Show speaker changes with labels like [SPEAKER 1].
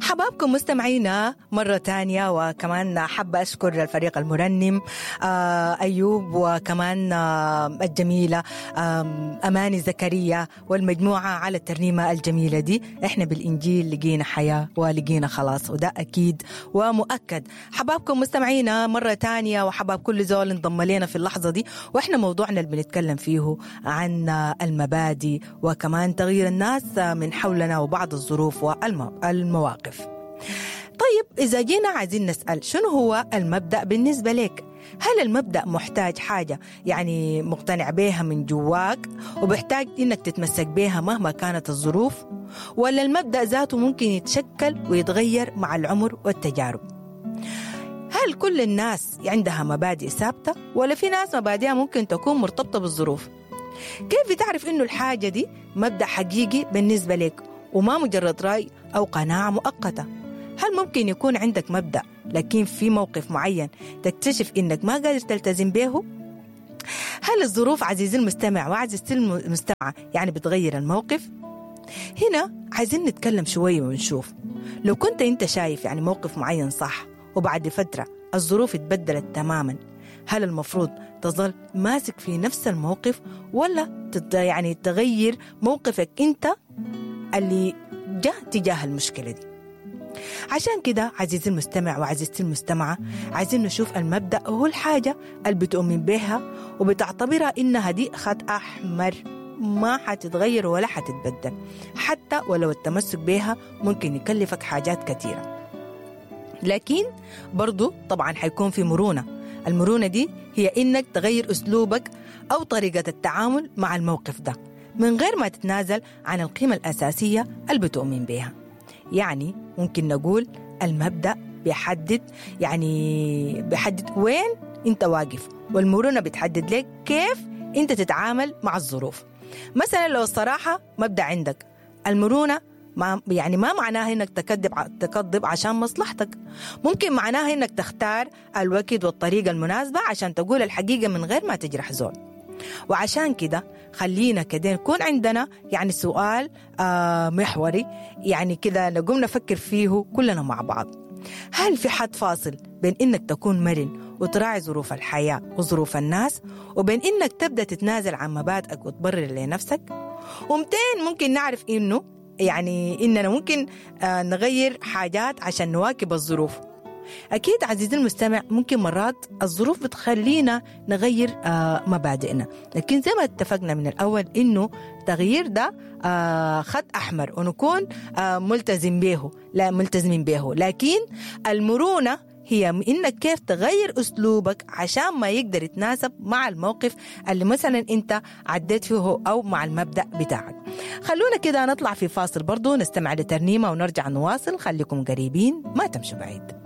[SPEAKER 1] حبابكم مستمعينا مرة تانية، وكمان حابة أشكر الفريق المرنم أيوب، وكمان الجميلة أماني زكريا والمجموعة على الترنيمة الجميلة دي. إحنا بالإنجيل لقينا حياة ولقينا خلاص، وده أكيد ومؤكد. حبابكم مستمعينا مرة تانية، وحباب كل زول انضم لنا في اللحظة دي، وإحنا موضوعنا اللي بنتكلم فيه عن المبادئ وكمان تغيير الناس من حولنا وبعض الظروف والمواقف. طيب إذا جينا عايزين نسأل شنو هو المبدأ بالنسبة لك؟ هل المبدأ محتاج حاجة يعني مقتنع بيها من جواك وبحتاج إنك تتمسك بيها مهما كانت الظروف؟ ولا المبدأ ذاته ممكن يتشكل ويتغير مع العمر والتجارب؟ هل كل الناس عندها مبادئ ثابتة ولا في ناس مبادئها ممكن تكون مرتبطة بالظروف؟ كيف بتعرف إنه الحاجة دي مبدأ حقيقي بالنسبة لك وما مجرد رأي أو قناعة مؤقتة؟ هل ممكن يكون عندك مبدأ لكن في موقف معين تكتشف إنك ما قادر تلتزم به؟ هل الظروف عزيزي المستمع وعزيزتي المستمعة يعني بتغير الموقف؟ هنا عايزين نتكلم شوية ونشوف لو كنت أنت شايف يعني موقف معين صح وبعد فترة الظروف اتبدلت تماما، هل المفروض تظل ماسك في نفس الموقف ولا يعني تغير موقفك أنت اللي جاء تجاه المشكلة دي؟ عشان كده عزيزي المستمع وعزيزتي المستمعة عايزين نشوف المبدأ هو الحاجة اللي بتؤمن بها وبتعتبرها إنها دي خط أحمر ما حتتغير ولا حتتبدل، حتى ولو التمسك بها ممكن يكلفك حاجات كثيرة. لكن برضو طبعا حيكون في مرونة. المرونة دي هي إنك تغير أسلوبك أو طريقة التعامل مع الموقف ده من غير ما تتنازل عن القيمة الأساسية اللي بتؤمن بها. يعني ممكن نقول المبدأ بيحدد يعني بيحدد وين انت واقف، والمرونة بتحدد لك كيف انت تتعامل مع الظروف. مثلا لو الصراحة مبدأ عندك، المرونة ما يعني ما معناها انك تكذب عشان مصلحتك، ممكن معناها انك تختار الوقت والطريقة المناسبة عشان تقول الحقيقة من غير ما تجرح زول. وعشان كده خلينا كده يكون عندنا يعني سؤال محوري، يعني كده نقوم نفكر فيه كلنا مع بعض. هل في حد فاصل بين إنك تكون مرن وتراعي ظروف الحياة وظروف الناس وبين إنك تبدأ تتنازل عن مبادئك وتبرر لنفسك؟ ومتين ممكن نعرف إنه يعني إننا ممكن نغير حاجات عشان نواكب الظروف؟ أكيد عزيزي المستمع ممكن مرات الظروف بتخلينا نغير مبادئنا، لكن زي ما اتفقنا من الأول إنه تغيير ده خط أحمر ونكون ملتزم به، لا ملتزمين به. لكن المرونة هي إنك كيف تغير أسلوبك عشان ما يقدر يتناسب مع الموقف اللي مثلا أنت عديت فيه أو مع المبدأ بتاعك. خلونا كده نطلع في فاصل برضو نستمع لترنيمة ونرجع نواصل. خليكم قريبين ما تمشوا بعيد.